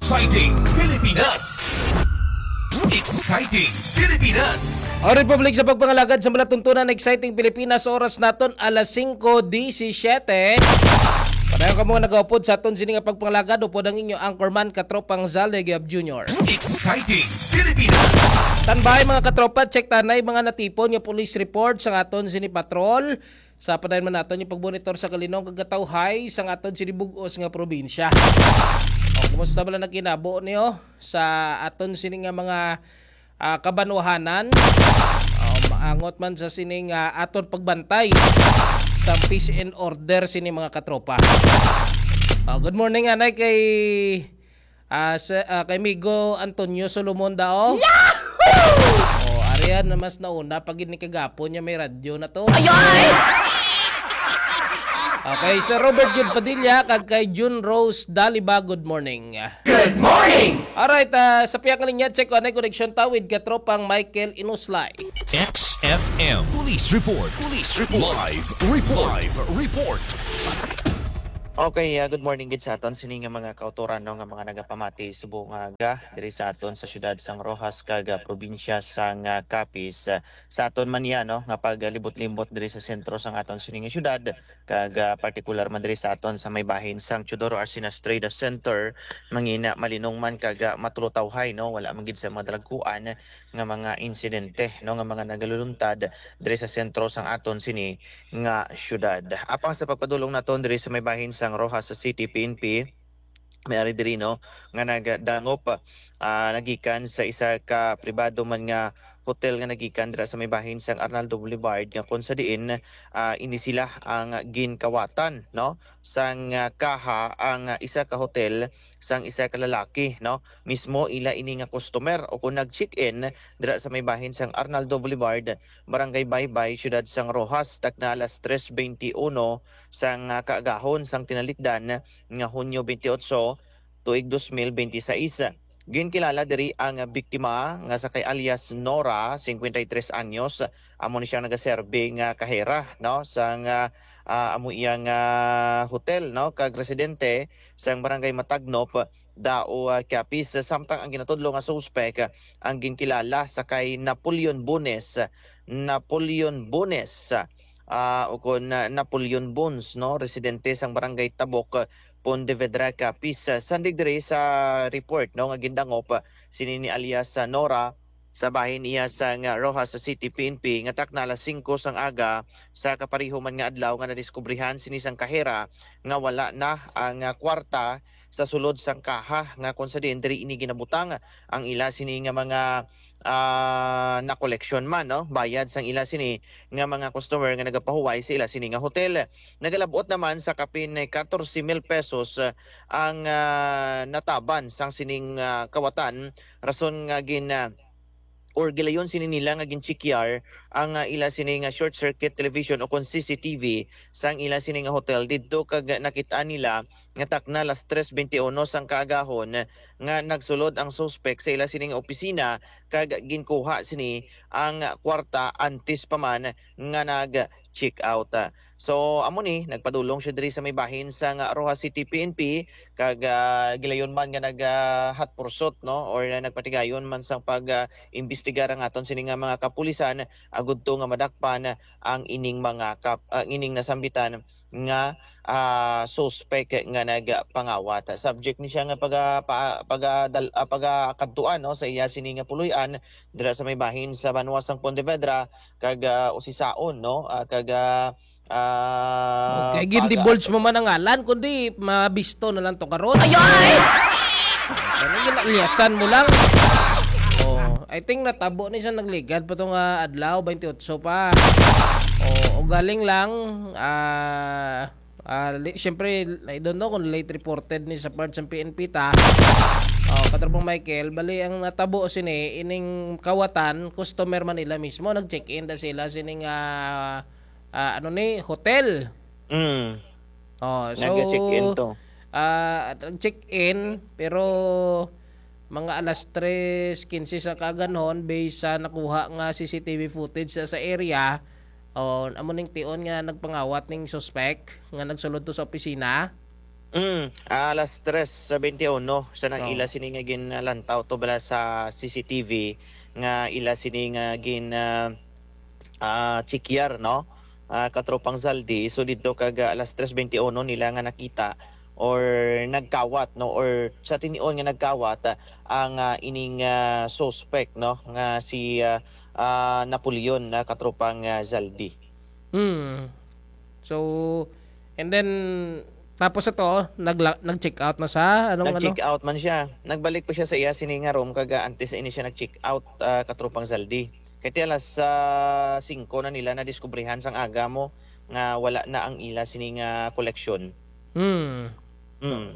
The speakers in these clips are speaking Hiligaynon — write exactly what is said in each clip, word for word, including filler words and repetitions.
Exciting Pilipinas! Exciting Pilipinas! Ang Republic sa pagpangalagad sa malatuntunan, Exciting Pilipinas, oras naton alas singko disisiyete. Padayon kamo nga nagaupod sa aton sini nga pagpangalagad, upod ang inyo anchorman, katropang Zale Gab Junior. Exciting Pilipinas! Standby, mga katropa, check tanay mga natipon nga police report sa aton sini patrol. Sa padayon man naton yung pagmonitor sa kalinong kag katawhay sang aton sini bug-os nga probinsya. O, kumusta man ang kinabo niyo sa aton sini nga mga, ah, kabanwahanan? O, maangot man sa sini nga aton pagbantay sa peace and order sini, mga katropa. O, good morning, anay, kay Ah, sa, ah, kay Migo Antonio Solomon dao. Yahoo! Oh, arian na mas nauna pag ini kagapon niya may radyo na to. Ayoy! Okay, Sir Robert Jude Padilla kag kay June Rose Daliba, good morning. Good morning! Alright, ah, sa pihak nga linya, check ko anay connection ta with katropang Michael Inuslay. X F M Police Report. Police Report. Live Report. Live Report. Okay, ah, good morning gid sa aton sini nga mga kautoran, no, nga mga nagapamati subong nga aga diri sa aton sa siyudad sang Roxas kag, ah, probinsya sang, ah, Capiz. Ah, sa aton man niya, no, nga paglibot-libot diri sa sentro sang aton sini nga siyudad kag, ah, partikular man diri sa aton sa may bahin sang Teodoro Arcenas Trade Center, mangina malinong man kag, ah, matulotawhay, no, wala man gid sa mga dalagkuan nga mga insidente, no, nga mga nagaluluntad diri sa sentro sang aton sini nga siyudad. Apang sa pagpadulong naton diri sa may bahin sang Roxas City P N P, may ari diri, no, nga nagdangop, ah, nagikan sa isa ka pribado man nga hotel nga nagikan dira sa may bahin sang Arnaldo Boulevard, nga kung sa diin, ah, ini sila ang ginkawatan, no, sang, ah, kaha ang, ah, isa ka hotel sang isa ka lalaki, no? Mismo ila ini nga customer o kung nag-check-in dira sa may bahin sang Arnaldo Boulevard, Barangay Baybay, Siyudad sang Roxas, takna alas tres twenty-uno sang, ah, kaagahon sang tinalikdan nga Hunyo twenty-eight, tuig dos mil binte seis. Ginkilala diri ang biktima nga sa kay alias Nora, cincuenta y tres anyos, amo ni siyang nagaserbi nga kahera, no, sang, ah, ah, amo iya nga hotel, no, kag residente sang Barangay Matagnop, Dao, ah, Capiz, samtang ang ginatudlo nga suspek, ah, ang ginkilala sa kay Napoleon Bones, Napoleon Bones, ah, o kon, ah, Napoleon Bones, no, residente sang Barangay Tabok, Pontevedra, Capiz. Sandig diri sa report, no, nga gindangop, ah, sini ni alias, ah, Nora, sa bahin iya sang Roxas City P N P nga takna alas singko sang aga sa kapareho man nga adlaw nga nadiskubrihan sini sang kahera nga wala na ang, ah, kwarta sa sulod sang kaha nga kung sa diin diri ini ginabutang ang ila sini nga mga, ah, nakoleksyon man, no? Bayad sang ila sini nga mga customer nga nagapahuway sa ila sini nga hotel. Nagalabot naman sa kapin katorse mil pesos, ah, ang, ah, nataban sang sining, ah, kawatan, rason nga gin, ah, or gilayon sini nila nga ginchekyar ang, ah, ila sini nga short circuit television o kon C C T V sang ila sini nga hotel didto, kag nakit-an nila nga takna alas tres twenty-uno sang kaagahon nga nagsulod ang suspek sa ila sini nga opisina kag ginkuha sini ang kwarta antes pa man nga nag-check out. So, amo ni, nagpadulong siya diri sa may bahin sang Roxas City P N P, kag, ah, gilayon man nga nag, ah, hot pursuit, no, or, ah, nagpatigayon man sang pag, ah, imbestigar ang aton sini nga mga kapulisan, agud to nga madakpan ang ining mga kap-, ang ining nasambitan nga, ah, suspek nga nagpangawat. Subject ni siya nga paga-, pa-, pagadal-, ah, pagakadtuan, no, sa iya sini nga puloy-an dira sa may bahin sa banwa sang Pontevedra, kag, ah, usisaon, no, ah, kag, ah, ah, Okay, gin-divulge mo man ang ngalan, kundi mabisto na lang to karon. Ayoy! Ano, ginaliasan mo lang. Oh, I think natabo ni siya, nagligad pa tong, ah, adlaw, twenty-eight pa. Oh, o galing lang, ah, ah, li-, siyempre, I don't know kung late reported ni sa part sa P N P ta. Oh, Katrabang Michael, bali ang natabo sini, ining kawatan, customer man nila mismo, nag-check-in da sila sining, ah, ah, ano ni, hotel. Mm. Oh, so, Nag-check-in to. ah, nag-check-in, pero mga alas tres quince sa kaganhon, based sa nakuha nga C C T V footage sa, sa area, oh, amo ning tion nga nagpangawat ning suspek nga nagsulod to sa opisina. Mm, alas tres sa twenty-one, sa nang Oo. ila sini nga ginlantaw to bala sa C C T V nga ila sini nga gin, ah, ah, check-yar, no? Ah, katropang Zaldi. So, dito kag, ah, alas tres twenty-one nila nga nakita or nagkawat, no? Or sa tinion nga nagkawat, ah, ang, ah, ining, ah, suspect, no? Nga si, ah, ah, Napoleon, na katropang, ah, Zaldi. Hmm. So, and then, tapos ito, nagla-, nag-check out na sa, anong ano? Nag-check out man siya. Nagbalik pa siya sa iya sini nga room, kag, ah, antes ini siya nag-check out, ah, katropang Zaldi. Kay ti alas, ah, singko na nila nadiskubrihan sang aga mo nga wala na ang ila sini nga koleksyon. Hmm. Hmm.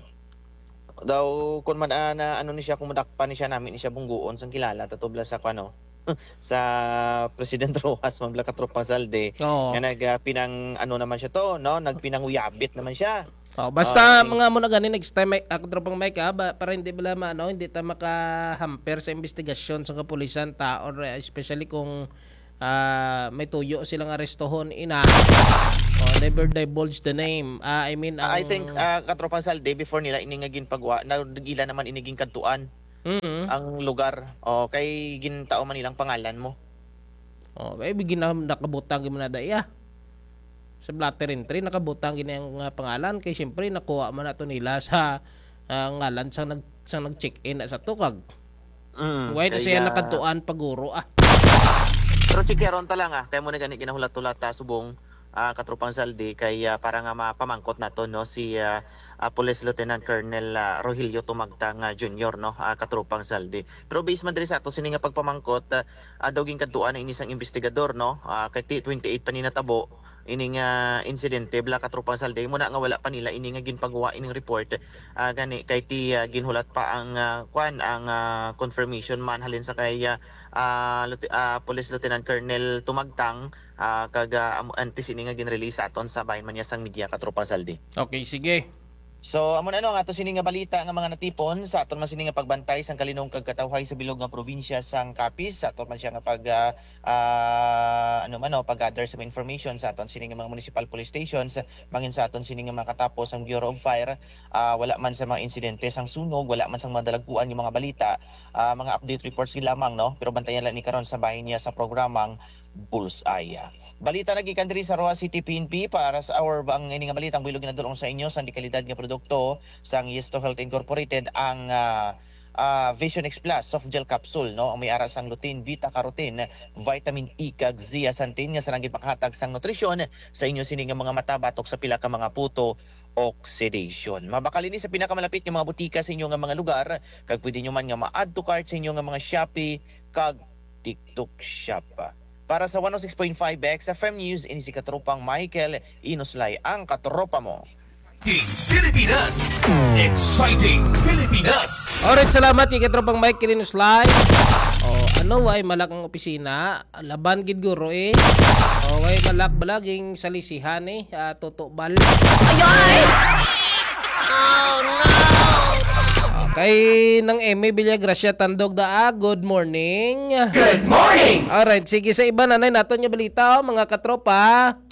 Daw, kun man, ah, na, ano ni siya, kung madakpan ni siya, nami ni siya bungguon sang kilala, tatubla sa, ano, sa President Roxas, man bala katropang Zaldi, Oo. nga nag, ah, pinang, ano naman siya to, no? Nagpinanguyabit naman siya. Oh, basta Ah, mga mo na gani next time, may, ako tropang Mike, ha, ba, para hindi bala ma-, ano, hindi ta maka-hamper sa investigasyon sa kapulisan ta, or, eh, especially kung, ah, may tuyo silang arestohon, ina. Oh, never divulge the name. Ah, I mean, I ang think, ah, katropang Zaldi, before nila ini nga ginpagwa, nagila naman ini ginkadtuan Mm. ang lugar. Oh, kay gintao man nilang pangalan mo. Oh, kay bigyan na nakabutang gyud man na daya. Sa blotter entry, nakabutang gini ang, ah, pangalan, kay siyempre nakuha man nato nila sa, ah, ngalan sa nag-, sa nag-check-in na sa tukag. Mm, Why na kay, siya ah, nakadtuan paguro, ah? Pero checkeron ta lang, ah, kay mo na gani ginahulat-hulat ta subong, ah, katropang Zaldi, kay, ah, para nga mapamangkot nato, no, si, ah, ah, Police Lieutenant Colonel, ah, Rogelio Tumagtang, ah, Junior, no, ah, katropang Zaldi. Pero based man diri sa ato sini nga pagpamangkot, ah, ah, daw ginkadtuan na ini sang investigador, no? Ah, kay ti-, twenty-eight pa ni natabo ini nga insidente, bala katropang Zaldi, mo na nga wala pa nila ini nga ginpagawa ining report. Ah, gani kay ti, ah, ginhulat pa ang, ah, kwan, ang, ah, confirmation man halin sa kay, ah, ah, Lieuti-, ah, Police Lieutenant Colonel Tumagtang, ah, kag, ah, am-, antes ini nga ginrelease sa aton sa bahin man niya sang media, katropang Zaldi. Okay, sige. So, amo na, no, ang ato sini nga balita nga mga natipon sa aton man sini nga pagbantay sang kalinong kag katawhay sa bilog nga probinsya sang Capiz, sa aton man siya nga pag, ah, ah, ano man, no, pag-gather sa mga information sa aton sini nga mga municipal police stations, bangin sa aton sini nga makatapos ang Bureau of Fire, ah, wala man sa mga insidente sang sunog, wala man sang mga dalagkuan nga mga balita, ah, mga update reports gid lamang, no, pero bantayan lang ni karon sa bahin niya sa programang Bullseye. Balita na gikan diri sa Roxas City P N P para sa our bang ini nga balita ang buhilog ginadulong sa inyo sa dekalidad nga produkto sang Yesto Health Incorporated ang, ah, ah, Vision X Plus soft gel capsule, no? Ang may ara sang lutein, beta carotene, vitamin E kag zeaxanthin nga sarang gipakahatag sang nutrisyon sa inyo sini nga mga mata batok sa pila ka mga puto oxidation. Mabakal ini sa pinakamalapit nga mga butika sa inyo nga mga lugar, kag pwede nyo man nga ma-add to cart sa inyo nga mga Shopee kag TikTok Shop. Para sa one oh six point five X F M News, ini si Katropang Michael Inuslay, ang katropa mo. Exciting Pilipinas! Exciting Pilipinas! Alright, salamat kay Katropang Michael Inuslay. Oh, ano, way malak ang opisina? Laban gid guro eh. Oh, way malak bala ging salisihan eh. Ah, tutubal. Ayoy! Oh, no! Okay, nang Emmy Villagracia Tandog da, ah, good morning. Good morning! Alright, sige, sa iba na, nay, naton nga balita, oh, mga katropa.